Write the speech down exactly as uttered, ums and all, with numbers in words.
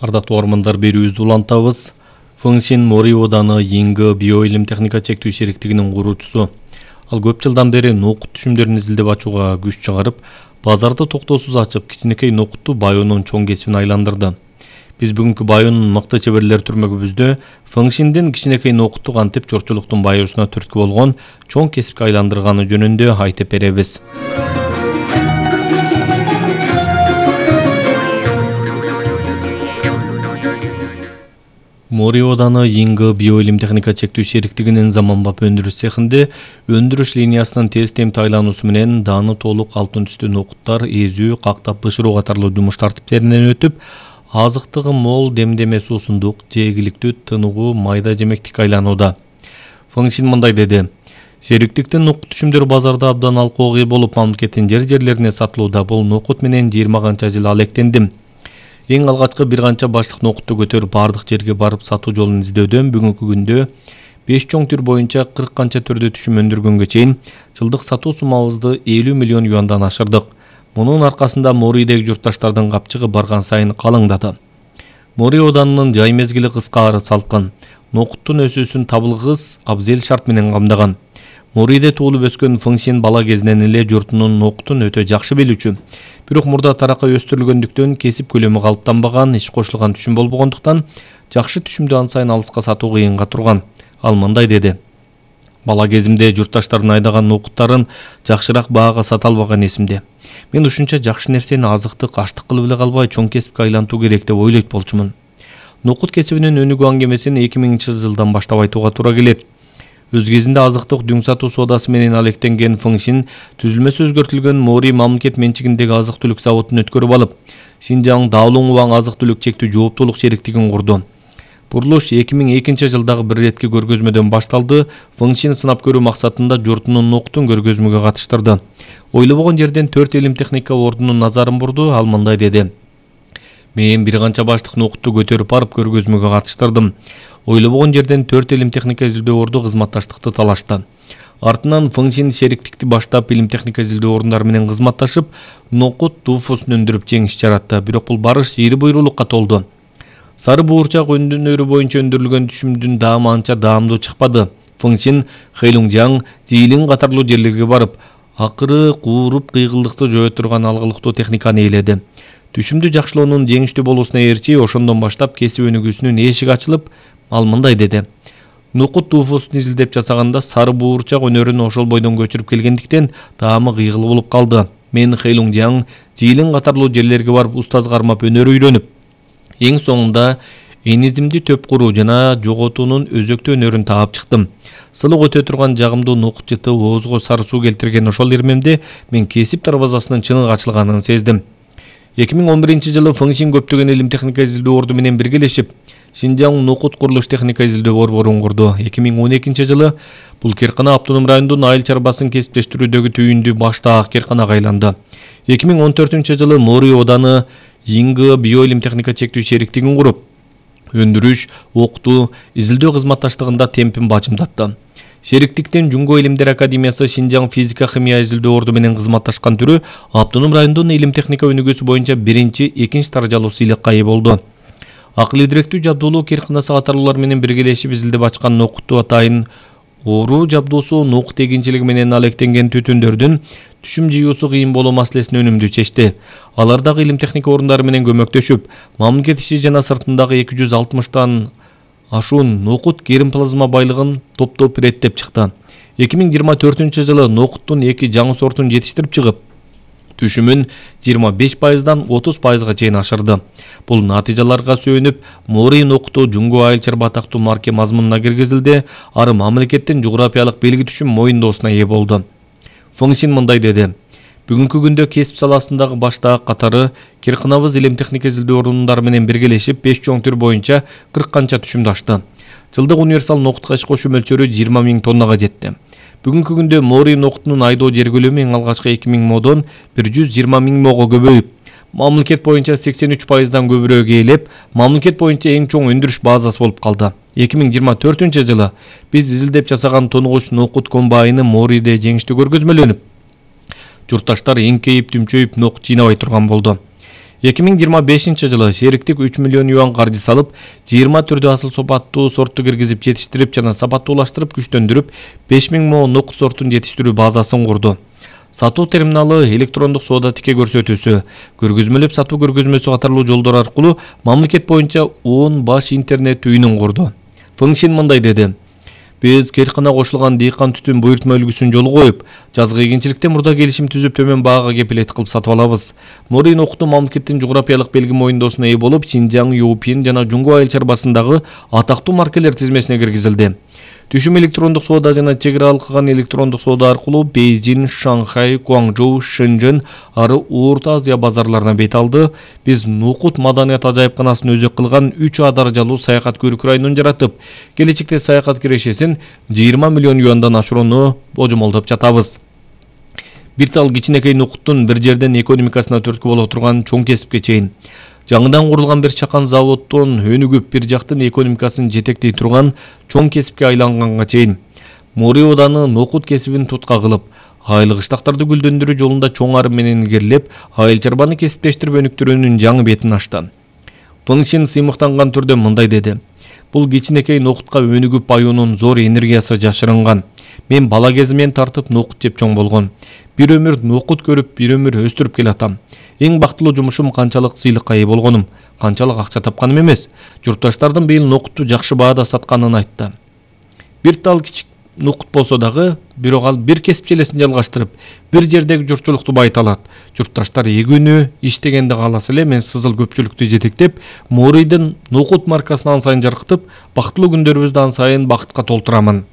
Ардактуу угармандар, берүүбүздү улантабыз. Фыңшин Мори Оданы Йинге биоилим техника чектүү шериктигинин куруучусу. Ал көп жылдан бери нокут түшүмдөрүн изилдеп ачууга күч чыгарып, базарды токтоосуз ачып, кичинекей нокутту байоонун чоң кесибине айландырды. Биз бүгүнкү байоонун мыкты чеберлер түрмөгүбүздө Фыңшиндин кичинекей нокутту кантип чорчулуктун байоосуна түрткү болгон чоң кесипке айландырганы жөнүндө айтып беребиз. Мори Оданы Йинге биоилим техника чектүү шериктигинин заманбап өндүрүш цехинде өндүрүш линиясынын терс темпте айлануусу менен дааны толук алтын түстүү нокуттар эзүү, кактап бышыруу катарлуу жумуш тартиптеринен өтүп, азыктыгы мол демдеме суусундук, жээкиликтүү, тыныгуу, майда жемектикке айланууда. Фыңшин мындай деди: Шериктиктин нокут түшүмдөрү базарда абдан алкоого ээ болуп, мамлекеттин жер-жерлерине сатылууда. Бул нокут менен жыйырма канча жыл алектендим. Эң алгачкы бир канча баштык нокутту көтөрүп бардык жерге барып сатуу жолун издөдөн бүгүнкү күндө беш чоң түр боюнча кырк канча түрдө түшүм өндүргөнгө чейин жылдык сатуу суммабызды элүү миллион юандан ашырдык. Мунун аркасында Моридеги журтташтардын капчыгы барган сайын калыңдады. Мори Оданынын жай мезгили кыска ары салкын. Нокуттун өсүүсүн табылгыс, абзел шарт менен камдаган. Мориде туулуп өскөн Фыңшин бала кезинен эле журтунун нокутун өтө жакшы билүүчү. Бирок мурда таракай өстүрүлгөндүктөн кесип көлөмү калыптанбаган, иш кошулган түшүм болбогондуктан жакшы түшүмдү ан сайын алыска сатуу кыйынга турган. Ал мындай деди: Бала кезимде журтташтардын айдаган нокуттарын жакшыраак баага сата албаган эсимде. Мен ушунча жакшы нерсени азыктык, аштык кылып эле калбай чоң кесипке айлантуу керек деп ойлойт болчумун. Нокут кесибинин өнүгүү аңгемесин эки миңинчи жылдан баштап айтууга туура келет. Өз кезинде азыктык дүң сатуу соодасы менен алектенген Фыңшин түзүлмөсү өзгөртүлгөн Мори мамлекет менчигиндеги азык-түлүк заводун өткөрүп алып, Шинжаң Даолуңваң азык-түлүк чектүү жооптуулук шериктигин курду. Курулуш эки миң экинчи жылдагы бир ретки көргөзмөдөн башталды. Фыңшин сынап көрүү максатында журтунун нокутун көргөзмөгө катыштырды. Ойлобогон жерден төрт илим техника ордунун назарын бурду. Ал мындай деди: Мен бир канча баштык нокутту көтөрүп барып көргөзмөгө катыштырдым. Ойлобогон жерден төрт илим техника изилдөө орду кызматташтыкты талашты. Артынан Фыңшин шериктикти баштап илим техника изилдөө ордундары менен кызматташып, нокут туфусун өндүрүп жеңиш жаратты. Бирок бул барыш ийри буйрулукка толду. Сары буурчак өндүнөрү боюнча өндүрүлгөн түшүмдүн даамы анча даамдуу чыкпады. Фыңшин Хэйлуңжаң, Жиилин катарлуу жерлерге барып, акыры кууруп кыйгылдыкты жое турган алгылыктуу техниканы ээледи. Түшүмдү жакшылоонун жеңиштүү болуусуна ээрчи ошондон баштап кесип өнүгүүсүнүн эшиги ачылып, ал мындай деди: Нокут туфусун изилдеп жасаганда сары буурчак өнөрүн ошол бойдон көчүрүп келгендиктен даамы кыйгыл болуп калды. Мен Хэйлуңжаң, Жиилин катарлуу жерлерге барып устаз кармап өнөр үйрөнүп, эң соңунда энизимди төп куруу жана жоготуунун өзөктүү өнөрүн таап чыктым. Сылык өтө турган жагымдуу нокут жыты оозго сары суу келтирген ошол ирмемде мен кесип дарбазасынын чыныгы ачылганын сездим. эки миң он биринчи жылы Фыңшин көптөгөн илим техника изилдөө орду менен биргелешип, Шинжаң нокут курулуш техника изилдөө борборун курду. эки миң он экинчи жылы бул Керкана автоном районунун айыл чарбасын кесиптештирүүдөгү түйүндү баштаак Керканага айланды. эки миң он төртүнчү жылы Мори Оданы Йинге биоилим техника чектүү шериктигин куруп, өндүрүш, окутуу, изилдөө кызматташтыгында темпин бажымдатты. Шериктиктин Жунго илимдер академиясы Шинжаң физика химия изилдөө орду менен кызматташкан түрү автоном райондун илим техника өнүгүүсү боюнча биринчи, экинчи даражалуу сыйлыкка ээ болду. Акыл идиректүү жабдуулуу Керканасы катарлуулар менен биргелешип изилдеп ачкан нокутту атайын оору жабдуусу, нокут эгинчилиги менен алектенген түтүндөрдүн түшүм жыюусу кыйын болуу маселесин өнүмдүү чечти. Алар дагы илим техника ордундары менен көмөктөшүп, мамлекет иши жана сыртындагы эки жүз алтымыштан ашуун нокут гермплазма байлыгын топтоп иреттеп чыкты. эки миң жыйырма төртүнчү жылы нокуттун эки жаңы сортун жетиштирип чыгып, түшүмүн жыйырма беш пайыздан отуз пайызга чейин ашырды. Бул натыйжаларга сүйөнүп, Мори нокуту Жунго айыл чарба атактуу марке мазмунуна киргизилди. Ары мамлекеттин жуграпиялык белги түшүм моюндоосуна ээ болду. Фыңшин мындай деди: Бүгүнкү күндө кесип саласындагы баштаак катары Керканабыз илим техника изилдөө ордундары менен биргелешип беш чоң түр боюнча кырк канча түшүмдү ачты. Жылдык универсал нокутка иш кошуу мөлчөрү жыйырма миң тоннага жетти. Бүгүнкү күндө Мори нокутунун айдоо жер көлөмү эң алгачкы эки миң модон бир жүз жыйырма миң мого көбөйүп, мамлекет боюнча сексен үч пайыздан көбүрөөк ээлеп, мамлекет боюнча эң чоң өндүрүш базасы болуп калды. эки миң жыйырма төртүнчү жылы биз изилдеп жасаган тонугуч нокут комбайны Мориде жеңиштүү көргөзмөлөнүп, журтташтар эңкейип, түмчөйүп нокут жыйнабай турган болду. эки миң жыйырма бешинчи жылы шериктик үч миллион юан каржы салып, жыйырма түрдүү асыл сапаттуу сортту киргизип жетиштирип жана сапаттуулаштырып күчтөндүрүп, беш миң мо нокут сортун жетиштирүү базасын курду. Сатуу терминалы, электрондук соода тике көрсөтүүсү, көргөзмөлөп сатуу көргөзмөсү катарлуу жолдор аркылуу мамлекет боюнча он баш интернет үйүнүн курду. Фыңшин мындай деди: Биз керкана кошулган дыйкан түтүн буйртма үлгүсүн жолго коюп, жазгы эгинчиликте мурда келишим түзүп төмөн баага кепилет кылып сатып алабыз. Мори нокуту мамлекеттин жуграпиялык белги моюндоосуна ээ болуп, Шинжаң, Юпин жана Жунгу айыл чарбасындагы атактуу маркелер тизмесине киргизилди. Түшүм электрондук соода жана чек ара алкаган электрондук соода аркылуу Бейжин, Шанхай, Гуаңжоу, Шэньчжэн ары Орто Азия базарларына бет алды. Биз нокут маданият ажайыпканасын өзөк кылган үч А даражалуу саякат көрүк районун жаратып, келечекте саякат кирешесин жыйырма миллион юандан ашырууну божомолдоп жатабыз. Бир тал кичинекей нокуттун бир жерден экономикасына түрткү боло турган чоң кесипке чейин. Жаңыдан курулган бир чакан заводдон өнүгүп бир жактын экономикасын жетектей турган чоң кесипке айланганга чейин. Мори ооданы нокут кесибин тутка кылып, айыл кыштактарды гүлдөндүрүү жолунда чоң арым менен илгерилеп, айыл чарбаны кесиптештирип өнүктүрүүнүн жаңы бетин ачты. Фыңшин сыймыктанган түрдө мындай деди: Бул кичинекей нокутка өнүгүп аюунун зор энергиясы жашырынган. Мен бала кезимден тартып нокут жеп чоң болгон. Бир өмүр нокут көрүп, бир өмүр өстүрүп келатам. Эң бактылуу жумушум канчалык сыйлыкка ээ болгонум, канчалык акча тапканым эмес. Журтташтардын быйыл нокутту жакшы баада сатканын айтты. Бир тал кичик нокут болсо дагы, бирок ал бир кесип челесин жалгаштырып, бир жердеги журтчулукту байыта алат. Журтташтар эгүүнү иштегенди кааласа эле мен сызыл көпчүлүктү жетектеп, Морийдин нокут маркасын ан сайын жаркытып, бактылуу күндөрүбүздү ан сайын бакытка толтурамын.